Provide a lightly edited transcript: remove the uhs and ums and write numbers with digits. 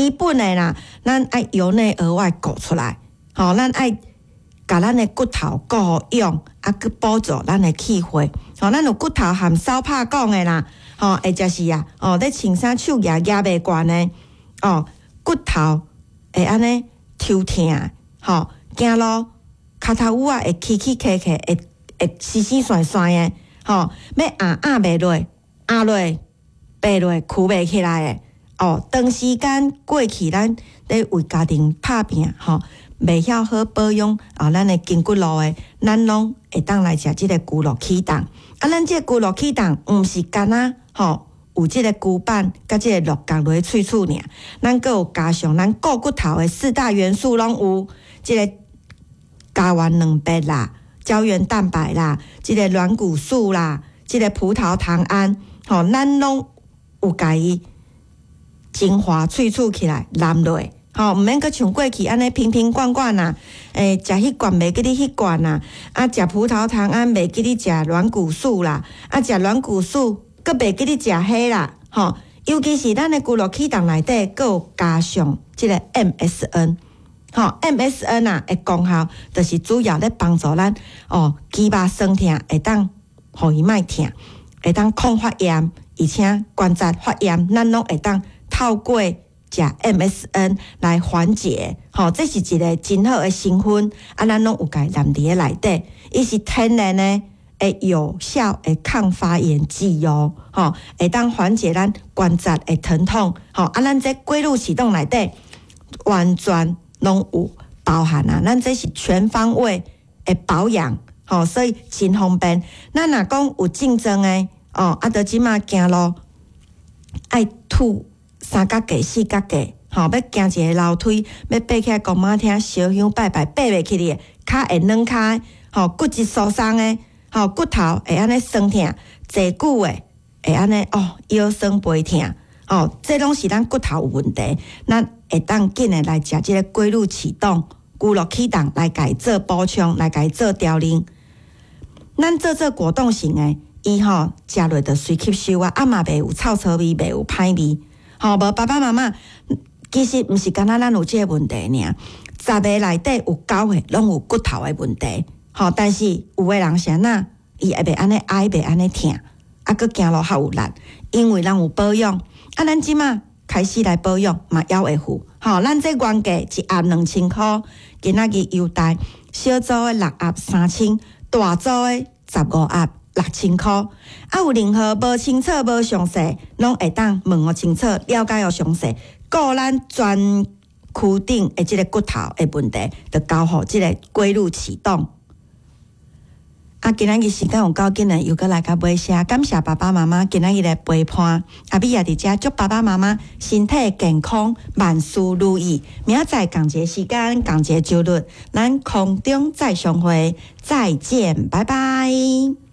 基本的啦，咱愛由內而外顧出來，吼，咱愛共咱的骨頭顧予勇，啊，閣補助咱的氣血，吼，咱有骨頭含梢拍講的啦，吼，或者是啊，哦，咧穿衫手舉舉袂懸的，哦，骨頭會按呢抽疼，吼，行路跤頭趺仔會起起磕磕，會會死死旋旋的，吼，欲按按袂落，按落爬落跍袂起來的，哦，長時間過去咱咧為家庭拍拚，吼，袂曉好保養啊，咱的筋骨路的，咱攏會當來食這个龜鹿啟動。啊，咱這个龜鹿啟動毋是干焦吼，有這个龜板佮這个鹿角落喙齒爾，咱閣有加上咱顧骨頭的四大元素攏有，這个膠原蛋白啦、膠原蛋白啦、這个軟骨素啦、這个葡萄糖胺，吼，咱攏有共伊精華萃取起來攬落。吼，毋免閣像過去按呢瓶瓶罐罐啊，欸，食彼罐袂記得彼罐啊，啊，食葡萄糖胺袂記得食軟骨素啦，啊，食軟骨素閣袂記得食彼啦，吼，尤其是咱的龜鹿啟動內底閣有加上這个 MSN，吼，MSN 啊的功效，就是主要咧幫助咱哦肌肉酸疼會當予伊莫疼，會當抗發炎，而且關節發炎，咱攏會當透過食 MSN 來緩解，吼，這是一个真好的成分，啊，咱攏有共伊納佇咧內底，伊是天然的、會有效的抗發炎劑哦，吼，會當緩解咱關節的疼痛，吼，啊，咱這龜鹿啟動內底完全攏有包含啊，咱這是全方位的保養，吼，所以真方便。咱若講有症狀的，哦，啊，著這馬行路愛吐三角架、四角架，吼，欲行一个樓梯，欲爬起來公媽廳燒香拜拜，爬袂起來，跤會軟跤，吼，骨質疏鬆的，吼，骨頭會按呢酸疼，坐久的會按呢哦腰酸背疼，哦，這攏是咱骨頭有問題，咱會當緊的來食這个龜鹿啟動、龜鹿啟動來共伊做補充，來共伊做調理。咱做做果凍型的，伊吼食落就隨吸收啊，啊嘛袂有臭臭味，袂有歹味。吼，無爸爸媽媽，其實毋是干焦咱有這个問題爾，十个內底有九個攏有骨頭的問題。吼，但是有的人是按怎，伊會袂按呢哀，袂按呢疼，啊，閣行路較有力，因為咱有保養。啊，咱這馬開始來保養嘛，猶會赴。吼，咱這原價一盒2000箍，今仔日優待小組的六盒3000，大組的15盒6000箍。啊，有任何無清楚、無詳細，攏會當問予清楚，了解予詳細，顧咱全軀頂的這个骨頭的問題，就交予這个龜鹿啟動。啊，今仔日時間有夠緊的，又閣來到尾聲，感謝爸爸媽媽今仔日的陪伴。阿美也佇遮祝爸爸媽媽身體健康，萬事如意。明仔載仝一个時間，仝一个周日，咱空中再相會，再見，拜拜。